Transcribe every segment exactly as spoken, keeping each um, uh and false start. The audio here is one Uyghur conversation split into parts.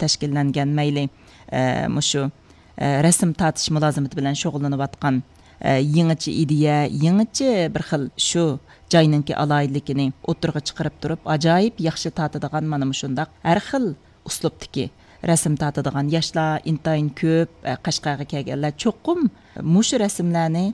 تەشكىللەنگەن، مەيلى، ئە، مۇشۇ، ئە، رەسىم تارتىش مۇلازىمىتى بىلەن شۇغۇللىنىۋاتقان، ئە، يېڭىچە ئىدىيە، يېڭىچە بىر خىل شۇ جاينىڭكى ئالاھىدىلىكىنى ئوتتۇرىغا چىقىرىپ تۇرۇپ، ئاجايىپ ياخشى تارتىدىغان مانا مۇشۇنداق ھەر خىل ئۇسلۇبتىكى رەسىم تارتىدىغان ياشلار ئىنتايىن كۆپ. ئە، قەشقەرگە كەلگەنلەر چوقۇم مۇشۇ رەسىملەرنى،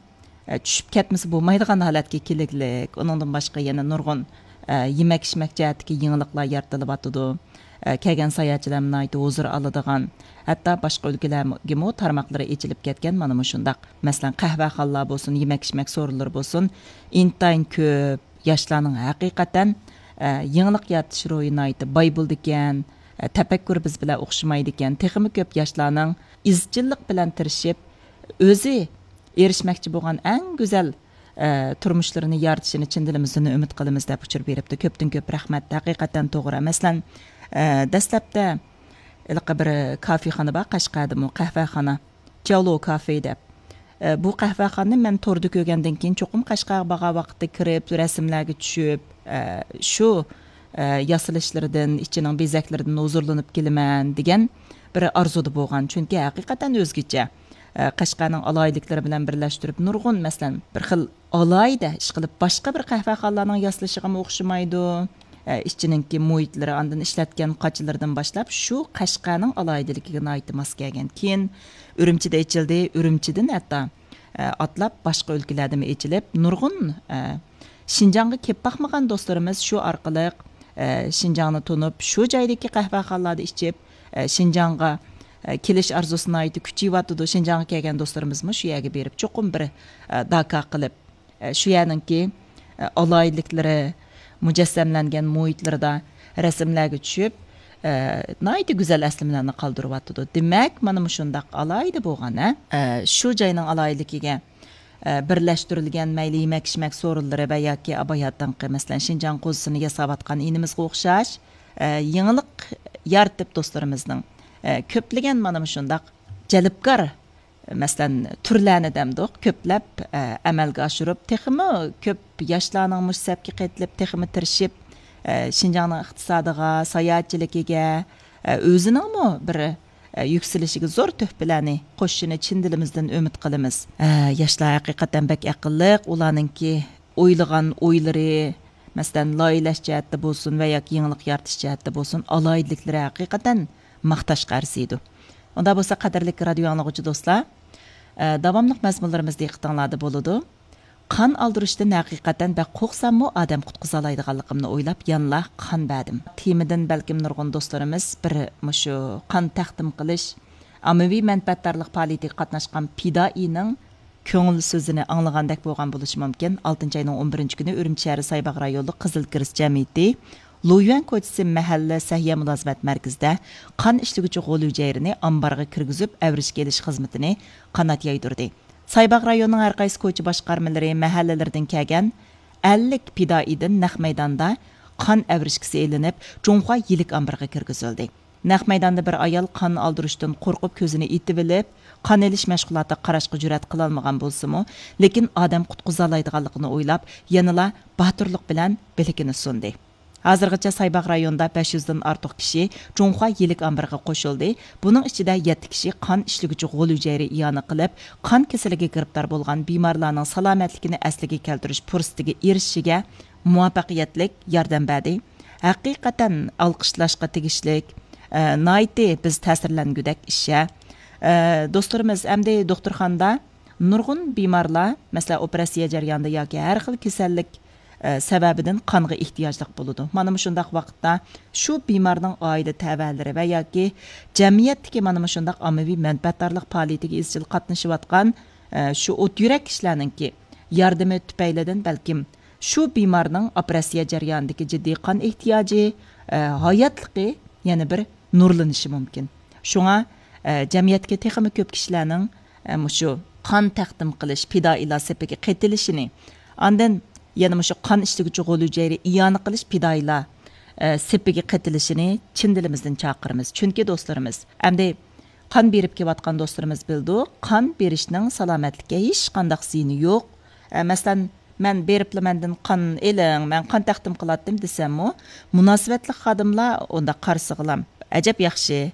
ئە، چۈشۈپ كەتمىسە بولمايدىغان ھالەتكە كېلىگلىك. ئۇنىڭدىن باشقا يەنە نۇرغۇن، ئە، يېمەك-ئىچمەك جەھەتتىكى يېڭىلىقلار يارىتىلىۋاتىدۇ. ئە، كەلگەن ساياھەتچىلەرمۇ ناھايىتى ھۇزۇر ئالىدىغان، ھەتتا باشقا ئۆلكىلەرگىمۇ تارماقلىرى ئېچىلىپ كەتكەن مانا مۇشۇنداق. مەسىلەن، قەھۋەخانىلار بولسۇن، يېمەك-ئىچمەك سورۇنلىرى بولسۇن، ئىنتايىن كۆپ. ياشلارنىڭ ھەقىقەتەن، ئە، يېڭىلىق يارىتىش روھى ناھايىتى باي بولىدىكەن، ئە، تەپەككۇرى بىز بىلەن ئوخشىمايدىكەن. تېخىمۇ كۆپ ياشلارنىڭ ئىزچىللىق بىلەن تىرىشىپ، ئۆزى ئېرىشمەكچى بولغان ئەڭ گۈزەل، ئە، تۇرمۇشلىرىنى يارىتىشىنى چىن دىلىمىزدىن ئۈمىد قىلىمىز، دەپ ئۇچۇر بېرىپتۇ. كۆپتىن كۆپ رەھمەت، ھەقىقەتەن توغرا. مەسىلەن، ئە، دەسلەپتە ھېلىقى بىر كافېخانا بار، قەشقەردىمۇ قەھۋەخانا، چاۋلو كافې دەپ. ئە، بۇ قەھۋەخانىنى مەن توردا كۆرگەندىن كېيىن، چوقۇم قەشقەرگە بارغان ۋاقىتتا كىرىپ، رەسىملەرگە چۈشۈپ، ئە، شۇ، ئە، ياسىلىشلىرىدىن، ئىچىنىڭ بېزەكلىرىدىن ھۇزۇرلىنىپ كېلىمەن دېگەن بىر ئارزۇدا بولغان. چۈنكى ھەقىقەتەن ئۆزگىچە. ئە، قەشقەرنىڭ ئالاھىدىلىكلىرى بىلەن بىرلەشتۈرۈپ، نۇرغۇن، مەسىلەن، بىر خىل ئالاھىدە، ئىشقىلىپ، باشقا بىر قەھۋەخانىلارنىڭ ياسىلىشىغىمۇ ئوخشىمايدۇ. ئە، ئىچىنىڭكى مۇھىتلىرى، ئاندىن ئىشلەتكەن قاچىلىرىدىن باشلاپ، شۇ قەشقەرنىڭ ئالاھىدىلىكىگە ناھايىتى ماس كەلگەن. كېيىن ئۈرۈمچىدە ئېچىلدى، ئۈرۈمچىدىن ھەتتا، ئە، ئاتلاپ باشقا ئۆلكىلەردىمۇ ئېچىلىپ، نۇرغۇن، ئە، شىنجاڭغا كېلىپ باقمىغان دوستلىرىمىز شۇ ئارقىلىق، ئە، شىنجاڭنى تونۇپ، شۇ جايدىكى قەھۋەخانىلاردا ئىچىپ، ئە، شىنجاڭغا، ئە، كېلىش ئارزۇسى ناھايىتى كۈچىيىۋاتىدۇ. شىنجاڭغا كەلگەن دوستلىرىمىزمۇ شۇ يەرگە بېرىپ، چوقۇم بىر، ئە، داكا قىلىپ، ئە، شۇ يەرنىڭكى، ئە، ئالاھىدىلىكلىرى مۇجەسسەملەنگەن مۇھىتلىرىدا رەسىملەرگە چۈشۈپ، ئە، ناھايىتى گۈزەل ئەسلىمىلەرنى قالدۇرۇۋاتىدۇ. دېمەك، مانا مۇشۇنداق ئالاھىدە بولغان، ھە؟ ئە، شۇ جاينىڭ ئالاھىدىلىكىگە، ئە، بىرلەشتۈرۈلگەن مەيلى يېمەك-ئىچمەك سورۇنلىرى ۋە ياكى ئاباياتىنقى، مەسىلەن، شىنجاڭ قوزىسىنى ياساۋاتقان ئىنىمىزغا ئوخشاش، ئە، يېڭىلىق يارىتىپ دوستلىرىمىزنىڭ، ئە، كۆپلىگەن مانا مۇشۇنداق جەلپكار، مەسىلەن، تۈرلەرنى دەمدۇق، كۆپلەپ، ئە، ئەمەلگە ئاشۇرۇپ، تېخىمۇ كۆپ ياشلارنىڭ مۇشۇ سەپكە قېتىلىپ، تېخىمۇ تىرىشىپ، ئە، شىنجاڭنىڭ ئىقتىسادىغا، ساياھەتچىلىكىگە، ئە، ئۆزىنىڭمۇ بىر، ئە، يۈكسىلىشىگە زور تۆھپىلەرنى قوشۇشىنى چىن دىلىمىزدىن ئۈمىد قىلىمىز. ئە، ياشلار ھەقىقەتەن بەك ئەقىللىق، ئۇلارنىڭكى ئويلىغان ئويلىرى، مەسىلەن، لايىھەلەش جەھەتتە بولسۇن ۋە ياكى يېڭىلىق يارىتىش جەھەتتە بولسۇن، ئالاھىدىلىكلىرى ھەقىقەتەن ماختاشقا ئەرزىيدۇ. ئۇنداق بولسا، قەدىرلىك رادىيو ئاڭلىغۇچى دوستلار، ئە، داۋاملىق مەزمۇنلىرىمىز دىققىتىڭلاردا بولىدۇ. قان ئالدۇرۇشتىن ھەقىقەتەن بەك قورقساممۇ، ئادەم قۇتقۇزالايدىغانلىقىمنى ئويلاپ يەنىلا قان بەردىم. تېمىدىن بەلكىم نۇرغۇن دوستلىرىمىز بىر مۇشۇ قان تەقدىم قىلىش، ئاممىۋى مەنپەئەتدارلىق پائالىيىتىگە قاتناشقان پىدائىينىڭ كۆڭۈل سۆزىنى ئاڭلىغاندەك بولغان بولۇشى مۇمكىن. ئالتىنچى ئاينىڭ ئون بىرىنچى كۈنى ئۈرۈمچى شەھىرى سايباغ رايونلۇق قىزىل كىرېست جەمئىيىتى لۇيۈەن كوچىسى مەھەللە سەھىيە مۇلازىمەت مەركىزىدە قان ئىشلىگۈچى غول ھۈجەيرىنى ئامبارغا كىرگۈزۈپ ئەۋرىشكە ئېلىش خىزمىتىنى قانات يايدۇردى. سايباغ رايونىنىڭ ھەر قايسى كوچا باشقارمىلىرى، مەھەللىلىرىدىن كەلگەن ئەللىك پىدائىيدىن نەق مەيداندا قان ئەۋرىشكىسى ئېلىنىپ، جۇڭخۇا يىلىك ئامبىرىغا كىرگۈزۈلدى. نەق مەيداندا بىر ئايال قان ئالدۇرۇشتىن قورقۇپ كۆزىنى ئېتىۋېلىپ، قان ئېلىش مەشغۇلاتىغا قاراشقا جۈرئەت قىلالمىغان بولسىمۇ، لېكىن ئادەم قۇتقۇزالايدىغانلىقىنى ئويلاپ، يەنىلا باتۇرلۇق بىلەن بىلىكىنى سۇندى. ھازىرغىچە سايباغ رايونىدا بەش يۈزدىن ئارتۇق كىشى جۇڭخۇا يىلىك ئامبىرىغا قوشۇلدى. بۇنىڭ ئىچىدە يەتتە كىشى قان ئىشلىگۈچى غول ھۈجەيرە ئىئانە قىلىپ، قان كېسىلىگە گىرىپتار بولغان بىمارلارنىڭ سالامەتلىكىنى ئەسلىگە كەلتۈرۈش پۇرسىتىگە ئېرىشىشىگە مۇۋەپپەقىيەتلىك ياردەم بەردى. ھەقىقەتەن ئالقىشلاشقا تېگىشلىك، ئە، ناھايىتى بىز تەسىرلەنگۈدەك ئىش. ئە، دوستلىرىمىز ئەمدى دوختۇرخانىدا نۇرغۇن بىمارلار، مەسىلەن، ئوپېراتسىيە جەريانىدا ياكى ھەر خىل كېسەللىك، ئە، سەۋەبىدىن قانغا ئېھتىياجلىق بولىدۇ. مانا مۇشۇنداق ۋاقىتتا شۇ بىمارنىڭ ئائىلە تەۋەلىرى ۋە ياكى جەمئىيەتتىكى مانا مۇشۇنداق ئاممىۋى مەنپەئەتدارلىق پائالىيىتىگە ئىزچىل قاتنىشىۋاتقان، ئە، شۇ ئوت يۈرەك كىشىلەرنىڭكى ياردىمى تۈپەيلىدىن بەلكىم شۇ بىمارنىڭ ئوپېراتسىيە جەريانىدىكى جىددىي قان ئېھتىياجى، ئە، ھاياتلىقى يەنە بىر نۇرلىنىشى مۇمكىن. شۇڭا، ئە، جەمئىيەتتىكى تېخىمۇ كۆپ كىشىلەرنىڭ، ئە، مۇشۇ قان تەقدىم قىلىش، پىدائىيلار سېپىگە قېتىلىشىنى، ئاندىن يەنە مۇشۇ قان ئىشلىگۈچى غول ھۈجەيرە ئىئانە قىلىش پىدائىيلار، ئە، سېپىگە قېتىلىشىنى چىن دىلىمىزدىن چاقىرىمىز. چۈنكى دوستلىرىمىز، ئەمدى قان بېرىپ كېلىۋاتقان دوستلىرىمىز بىلىدۇ، قان بېرىشنىڭ سالامەتلىككە ھېچقانداق زىيىنى يوق. ئە، مەسىلەن، مەن بېرىپلا مەندىن قان ئېلىڭ، مەن قان تەقدىم قىلاتتىم دېسەممۇ، مۇناسىۋەتلىك خادىملار ئۇنداق قارىسىغىلام، ئەجەب ياخشى،